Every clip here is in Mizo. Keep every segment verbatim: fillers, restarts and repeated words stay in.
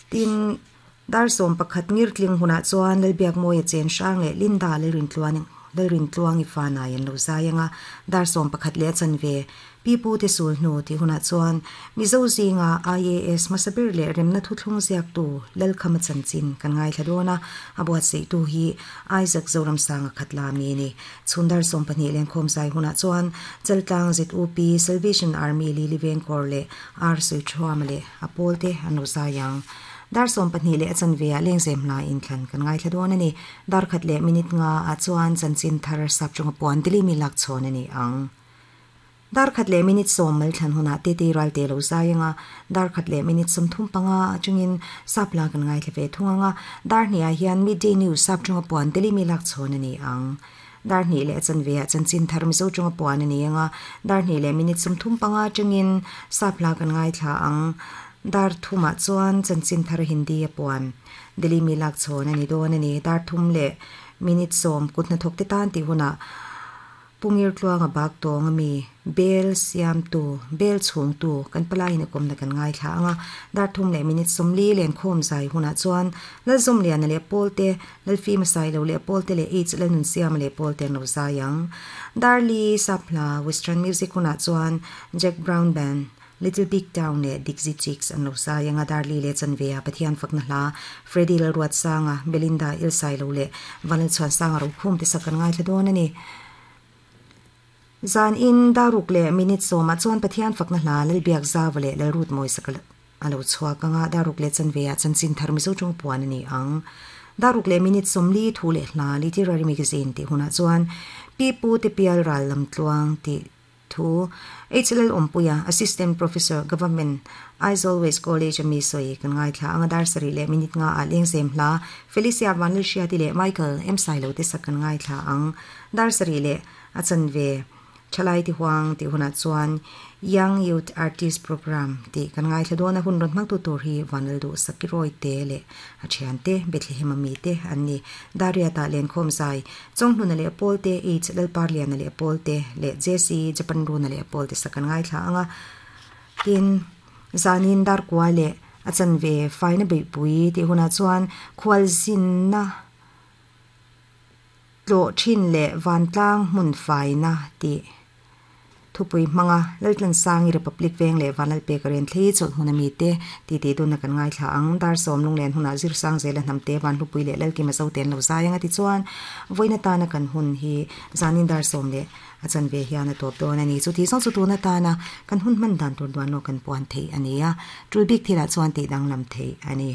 Tin dar som pakhat ngir tling huna chuan lalbiak mawia chen hrang leh Linda lalrin tluan lalrin tluang i fanai an lo zai anga dar som pakhat leh chan ve pipu te sul hnu ti huna chuan Mizo zinga I A S masabir leh remna thu thlung ziak tu lalkhama chanchin kan ngai thladona abuat sei tu hi Isaac Zoram sanga khatla mi ni chundar som pahnih len khom zai huna chuan chaltlang Z U P Salvation Army Lily Vengkor le R Sui Thuam le apol te anu zayang dar som pahnih leh chan ve a lengzem hla in thlan kan ngai thladon ani dar khat leh minute nga a chuan chanchin thar sap chunga puan dili mi lak chhon ani ang dar khat leh minute som mal thlan huna te te ral te lo zayanga dar khat leh minute som thum panga chungin sapla kan ngai thleve thunga dar hnia hian midday news sap chunga puan dili mi lak chhon ani ang dar hni leh chan ve a chanchin thar mi zo chunga puan ani anga dar hni leh minute som thum panga chungin sapla kan ngai thla ang dar thuma chuan chanchin thar hindi a puan dili mi lak chhon ani don ani dar thum le minute som kutna thok te tan ti huna pungir tluanga bak tong ami bel siam tu bel chung tu kan palai na kom na kan ngai thla anga dar thum le minute som li len khom zai huna chuan lal zum lian le polte lal fi masai lo le polte le h le nun siam le polte no zayang dar li sapla western music huna chuan Jack Brown Band Little Big Town le Dixie Chicks an lo sayanga darli le chanvea Pathian fakna hla Freddy Lalruat sanga Belinda Ilsai lo le Vanal chuan sanga ro khum te sakan ngai thladon ani zan in daruk le minute soma chuan Pathian fakna hla lalbiak zawale lalrut moi sakal alo chhuak anga daruk le chanvea chanchin thar mizo chung puan ani ang daruk le minute somli thu le hla literary magazine ti huna chuan pi pu te pial ral lam tluang ti thu H L Ompuya Assistant Professor Government Aizawl West College ami soi kan ngai thla anga dar sari le minute nga a lengzem hla Felicia Vanil Shia ti le Michael M Sailo te sak kan ngai thla ang dar sari le achan ve chalai ti huang ti huna chuan Young Youth Artist Program ti kan ngai thla dona hun ron mang tu tur hi Vanil du sakiroi te le a thian te Bethlehem ami te anni daria ta len khom zai chonghnuna le polte h lalparlian le polte le J C Japan runa le polte sakan ngai thla anga tin zanin dar kwa le achan ve faina be pui ti huna chuan khwal zin na tlo thin le vantlang mun faina ti thupui manga laltlan sangi Republic veng le vanal pe karen thlei chol hunami te ti ti dun na kan ngai thla ang dar som lunglen huna zir sang zela namte van hlupui le lalki ma zo ten lo zayanga ti chuan voina ta na kan hun hi zanin dar som le achan ve hian a top don ani chu ti song chu tu na ta na kan hun man dan tur duan no kan puan thei ania tul bik thila chuan ti dang lam thei ani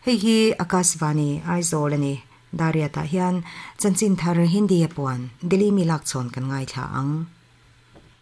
hei hi Akashvani Aizawl ani daria ta hian chanchin thar hindi a puan dili mi lak chon kan ngai thla ang.